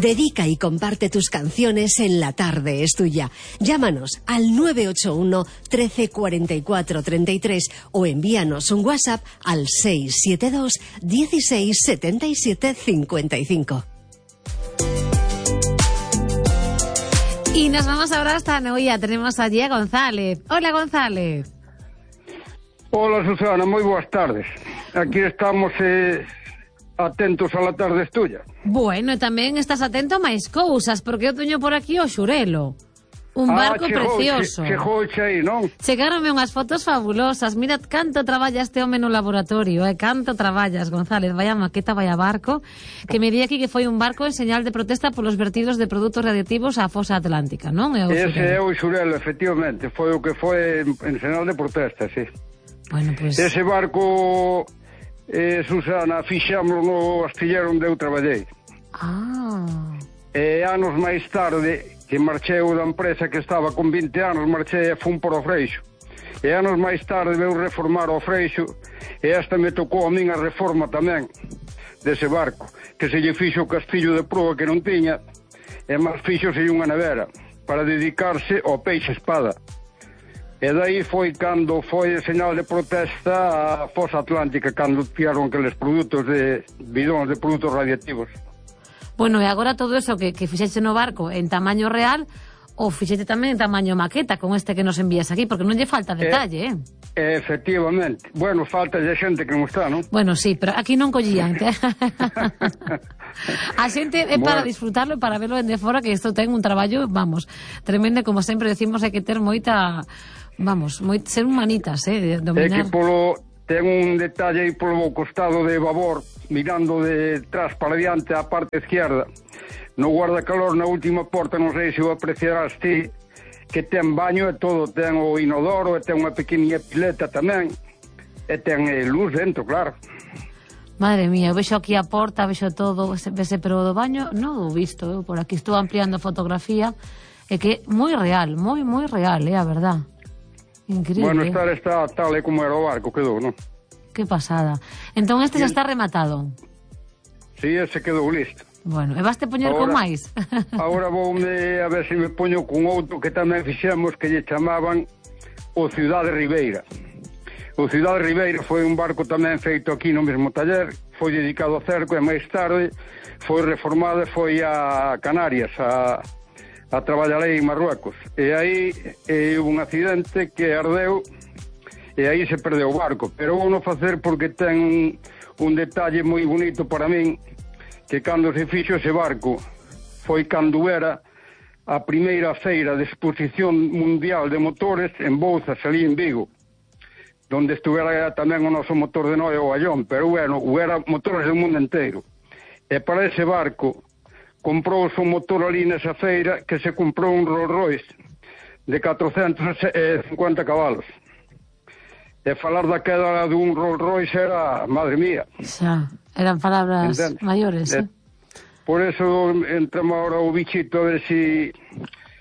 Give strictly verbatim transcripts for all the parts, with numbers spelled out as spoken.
Dedica y comparte tus canciones en La Tarde es Tuya. Llámanos al nueve ocho uno, trece, cuarenta y cuatro, treinta y tres o envíanos un WhatsApp al seis siete dos, dieciséis, setenta y siete, cincuenta y cinco. Y nos vamos ahora hasta Noia. Tenemos allí a González. Hola, González. Hola, Susana, moi boas tardes. Aquí estamos eh, atentos a La Tarde es Tuya. Bueno, e tamén estás atento a máis cousas, porque eu teño por aquí o Xurelo. Un ah, barco chegou, precioso. Chegou aí, non? Chegaronme unhas fotos fabulosas. Mirad canto traballa este home no laboratorio, eh? Canto traballas, González. Vaya maqueta, vaya barco. Que me di aquí que foi un barco en señal de protesta polos vertidos de produtos radiactivos á fosa atlántica, non? É o Ese Xurelo. é o Xurelo, efectivamente. Foi o que foi en, en señal de protesta, sí. Bueno, pues... Ese barco, eh, Susana, fixámoslo no astillero onde eu traballei. Ah... E anos máis tarde, que marchei da empresa que estaba con vinte anos, marchei e fun por o Freixo. E anos máis tarde veu reformar o Freixo e esta me tocou a min a reforma tamén dese barco, que se lle fixo o castillo de proa que non tiña e máis fixose unha nevera para dedicarse ao peixe espada. E dai foi cando foi a señal de protesta a fosa atlántica, cando tiraron aqueles produtos de bidóns de produtos radiactivos. Bueno, e agora todo eso que, que fixeche no barco en tamaño real, ou fixete tamén en tamaño maqueta con este que nos envías aquí, porque non lle falta detalle, eh? eh efectivamente. Bueno, falta de xente que non está, non? Bueno, sí, pero aquí non collían. A xente é para bueno. disfrutarlo e para verlo en de fora, que isto ten un traballo, vamos, tremendo, como sempre decimos, hai que ter moita, vamos, moi, ser humanitas, eh, de dominar. É que polo... ten un detalle aí polo costado de babor, mirando de trás para diante á parte izquierda, no guardacalor na última porta, non sei se o apreciarás ti, que ten baño e todo, ten o inodoro e ten unha pequeniña pileta tamén e ten eh, luz dentro, claro. Madre mía, vexo aquí a porta, vexo todo, vese, pero do baño non o visto, eu por aquí estou ampliando a fotografía, e que moi real, moi, moi real, é eh, a verdad. Increíble. Bueno, estar está tal e como era o barco, quedou, non? Que pasada. Entón este xa está rematado. Si, sí, ese quedou listo. Bueno, e vaste poñer ahora, con máis? Agora voume a ver se me poño con outro que tamén fixemos, que lle chamaban o Cidade Ribeira. O Cidade Ribeira foi un barco tamén feito aquí no mesmo taller, foi dedicado ao cerco e máis tarde foi reformado e foi a Canarias, a... a traballar aí en Marruecos, e aí é un accidente que ardeu e aí se perdeu o barco, pero vou non facer porque ten un, un detalle moi bonito para min, que cando se fixo ese barco foi cando era a primeira feira de exposición mundial de motores en Bouzas, ali en Vigo, donde estuvera tamén o noso motor de Noia, o Ayón, pero bueno, era motores do mundo inteiro, e para ese barco comprou o motor ali nesa feira, que se comprou un Rolls Royce de catrocentos e cincuenta cabalos. E falar da queda dun Rolls Royce era, madre mía. Xa, eran palabras ¿entende? Maiores, eh? Por eso entramos ahora o bichito a ver si...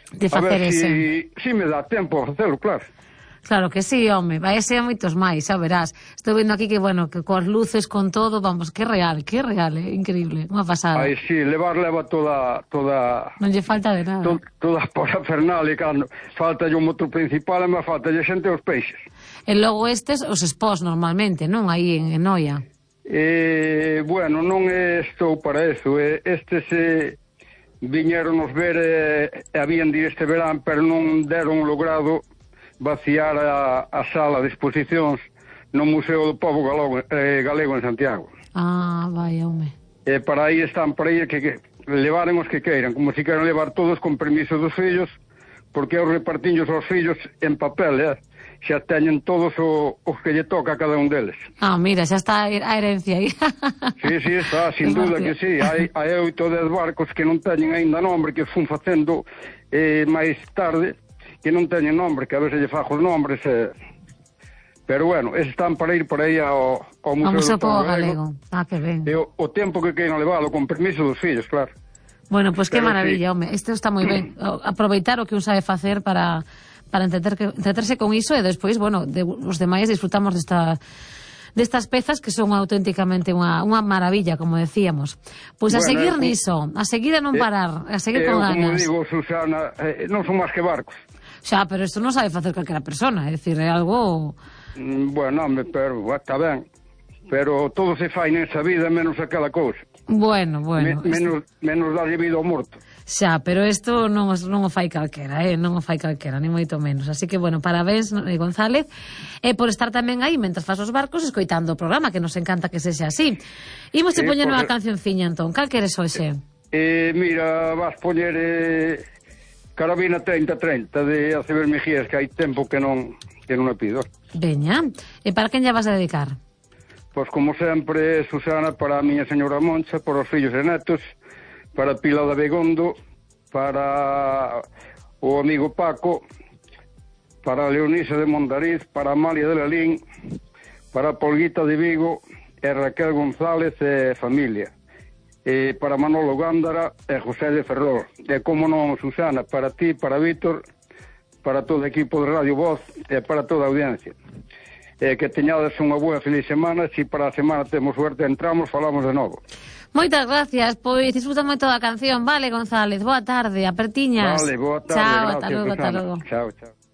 De facer a ver ese. si, si me dá tempo a facelo, claro. Claro que sí, home, vai ser moitos máis, xa verás. Estou vendo aquí que, bueno, que coas luces, con todo, vamos, que real, que real, eh? Increíble, unha pasada. Ai, sí, levar leva toda... toda non lle falta de nada. To, toda a parafernalia, cando falta o motor principal e máis falta lle xente os peixes. E logo estes, os expós normalmente, non? Aí en, en Noia. Eh, bueno, non estou para eso, eh, estes eh, viñeron nos ver e eh, habían de este verán, pero non deron logrado vaciar a, a sala de exposicións no Museo do Pobo Galego, eh, Galego en Santiago. Ah, vai, home. E para aí están, para aí que, que levaren os que queiran, como se queiran levar todos con permiso dos fillos, porque eu repartiños aos fillos en papel, eh? Xa teñen todos o, os que lle toca a cada un deles. Ah, mira, xa está a herencia aí. Sí, sí, está, sin duda que sí. Hai, hai oito dez barcos que non teñen aínda nombre, que fun facendo eh, máis tarde, que non teñen nombre, que a veces lle fajo os nombres, eh... pero bueno, están para ir por aí ao, ao Museo, Museo do Pobo Galego. Ah, que ben. E o, o tempo que queiran levalo, con permiso dos fillos, claro. Bueno, pois pues que maravilla, sí. home, isto está moi ben. Aproveitar o que un sabe facer para, para entreter, entreterse con iso e despois, bueno, de, os demais disfrutamos desta destas pezas que son auténticamente unha, unha maravilla, como decíamos. Pois a Bueno, seguir eh, niso, a seguir a non parar, a seguir Eu, con como ganas. digo, Susana, eh, non son máis que barcos. Xa, pero isto non sabe facer calquera persona, é dicir, é algo... Mm, Bueno, home, pero está ben. Pero todo se fai nesa vida menos aquela cousa. Bueno, bueno. Me, menos, menos darlle vida ao morto. Xa, pero isto non, os- non o fai calquera, eh? non o fai calquera, ni moito menos. Así que, bueno, parabéns, eh, González, e eh, por estar tamén aí, mentras faz os barcos, escoitando o programa, que nos encanta que sexa así. Imos te Eh, poñer unha porque- cancionciña, entón. Cal queres hoxe? Eh, mira, vas poñer eh, Carabina trinta trinta de Aceber Mejías, que hai tempo que non que non a pido. Veña. E para quen lla vas a dedicar? Pois como sempre, Susana, para a miña señora Moncha, para os fillos e netos, para Pilar de Begondo, para o amigo Paco, para Leonisa de Mondariz, para Amalia de Lalín, para Polguita de Vigo e Raquel González e familia, e para Manolo Gándara e José de Ferrol, e como non, Susana, para ti, para Víctor, para todo o equipo de Radio Voz e para toda a audiencia. E que teñades unha boa feliz semana. Se para a semana temos suerte entramos, falamos de novo. Moitas gracias, pois disfruta moito da canción, vale, González? Boa tarde, apertiñas. Vale, boa tarde, Chao, gracias, ata logo, ata Susana. logo. Chao, chao.